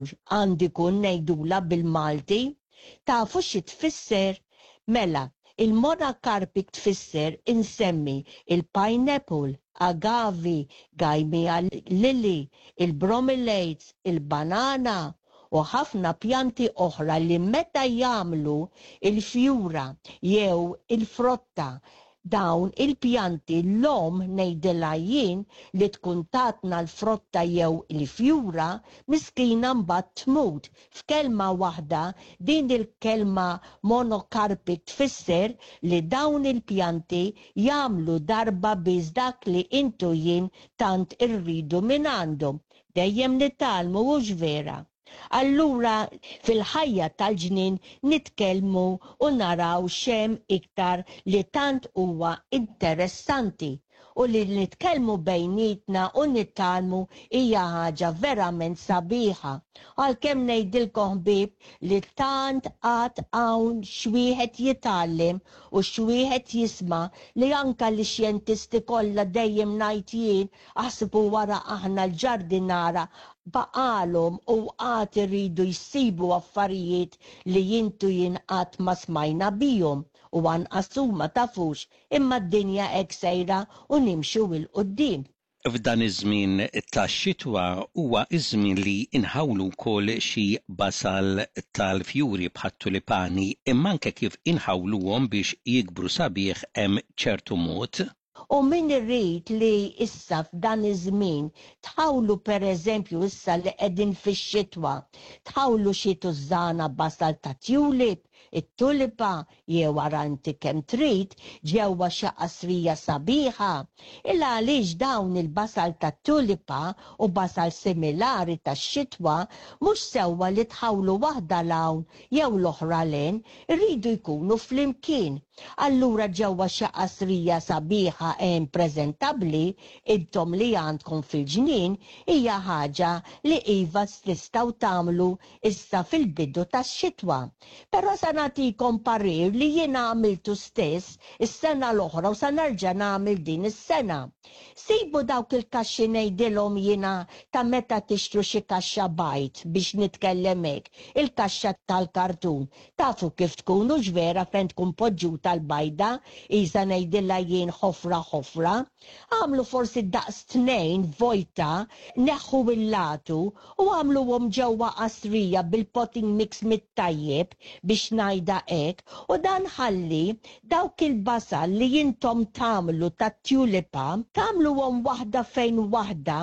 Għandi kun ngħidulha bil-Malti. Tafu xi tfisser? Mela, il-monocarpic tfisser insemmi il-pineapple, agave, gymea lily, il-bromeliads, il-banana u ħafna pjanti oħra li meta jagħmlu il-fjura jew il-frotta, dawn il-pjanti, l-omm ngħidilha jien, li tkun tatna l-frotta jew il-fjura, miskina mbagħad tmut. F'kelma waħda, din il-kelma monocarpic tfisser li dawn il-pjanti jagħmlu darba biss dak li int u jien tant irridu mingħandhom. Dejjem nitgħallmu, hux vera? Allura fil-ħajja tal-ġnien nitkellmu u naraw x'hemm iktar li tant huwa interessanti u li nitkellmu bejnietna u nitgħallmu hija ħaġa verament sabiħa. Għalkemm ngħidilkom, ħbieb, li tant għad hawn x'wieħed jitgħallem u x'wieħed jisma' li anka l-xjentisti kollha, dejjem ngħid jien, aħsbu wara aħna l-ġardinara, baqalhom u għad iridu jsibu affarijiet li int u jien qatt ma smajna bihom u anqas huma tafux, imma d-dinja hekk sejra u nimxu 'l quddiem. F'dan iż-żmien tax-xitwa huwa ż-żmien li nħawlu wkoll xi basal tal-fjuri bħat-tulipani, imma anke kif inħawluhom biex jikbru sabiħ hemm ċertu mod. U min irid li issa f'dan iż-żmien tħawlu, pereżempju issa li qegħdin fix-xitwa, tħawlu xi tużżana basal ta' tulip, it-tulipa jew ara inti kemm trid, ġewwa xi qasrija sabiħa. Il għaliex dawn il-basal ta' tulipa u basal similari tax-xitwa mhux sewwa li tħawlu waħda 'l hawn jew l-oħra 'l hemm, iridu jkunu flimkien. Allura ġewwa xi qasrija sabiħa hemm preżentabbli intom li għandkom fil-ġnien hija ħaġa li iva tistgħu tagħmlu issa fil-bidu tax-xitwa. Però sa nagħtikom parir li jiena għamiltu stess is-sena l-oħra u sa nerġa' nagħmel din is-sena. Sibu dawk il-kaxxi, ngħidilhom jiena, ta' meta tixtru xi kaxxa bajd, biex nitkellem hekk, il-kaxxa tal-kartun. Tafu kif tkun, hux vera, fejn tkun poġġuta l-bajda, isa ngħidilha jien ħofra ħofra. Għamlu forsi daqs tnejn vojta, neħħu il-latu u għamluhom ġewwa qasrija bil-potting mix mit-tajjeb, biex ngħidha hekk, u dan ħalli dawk il-basal li intom tagħmlu tat-tulipa tagħmluhom waħda fejn waħda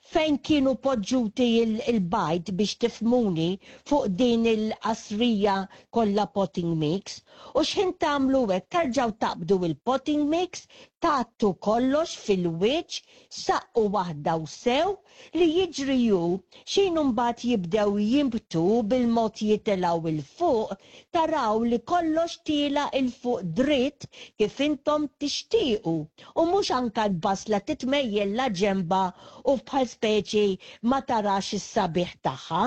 fejn kienu poġġuti il-bajd, biex tifhmuni, fuq din il-qasrija kollha potting mix, u x'ħin tagħmlu hekk terġgħu taqbdu il-potting mix, tgħattu kollox fil-wiċċ, saqqu waħda u sew. Li jiġri hu x'ħin mbagħad jibdew jinbtu bil-mod, jitilgħu 'l fuq, taraw li kollox tiela' 'l fuq dritt kif intom tixtiequ u mhux anka l-basla titmejjel la ġemba u bħal speċi ma tarax is-sabiħ tagħha.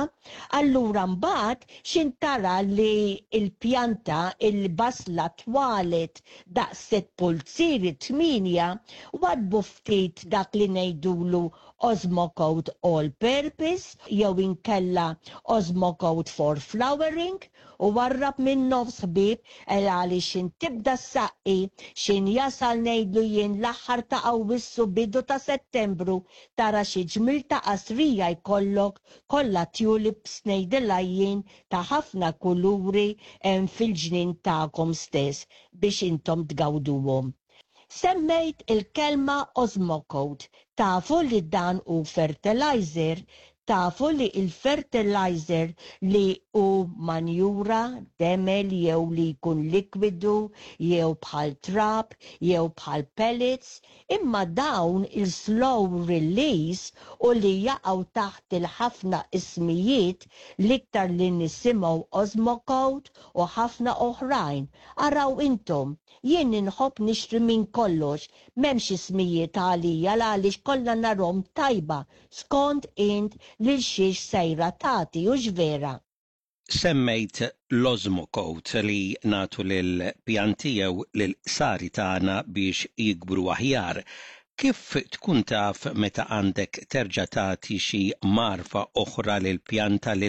Allura mbagħad x'ħin tara li l-pjanta, il-basla, twalet daqs sitt pulzieri, tmienja, waddbu ftit dak li ngħidulu Osmocote All Purpose jew inkella Osmocote for Flowering u warrab minn nofs, ħbieb, għaliex x'ħin tibda ssaqqi, x'ħin jasal, ngħidlu jien, l-aħħar ta' Awwissu, bidu ta' Settembru, tara xi ġmil ta' qasrija jkollok kollha tulips, ngħidilha jien, ta' ħafna kuluri hemm fil-ġnien tagħkom stess biex intom tgawduhom. Semmejt il-kelma Osmocote. Tafu li dan hu fertilizer? Tafu li il-fertilizer li hu manjura, demel jew li jkun likwidu jew bħal trab jew bħal pellets, imma dawn il-slow release u li jaqgħu taħt il-ħafna ismijiet, l-iktar li nisimgħu Osmocote u ħafna oħrajn. Araw intom, jien inħobb nixtri minn kollox, m'hemmx ismijiet għalija għaliex kollha narahom tajba skont int lil xiex sejra tagħti, hux vera? Semmejt l-Osmocote li nagħtu lil pjanti jew lil qsari tagħna biex jikbru aħjar. Kif tkun taf meta għandek terġa' tagħti xi mgħarfa oħra lil pjanta lil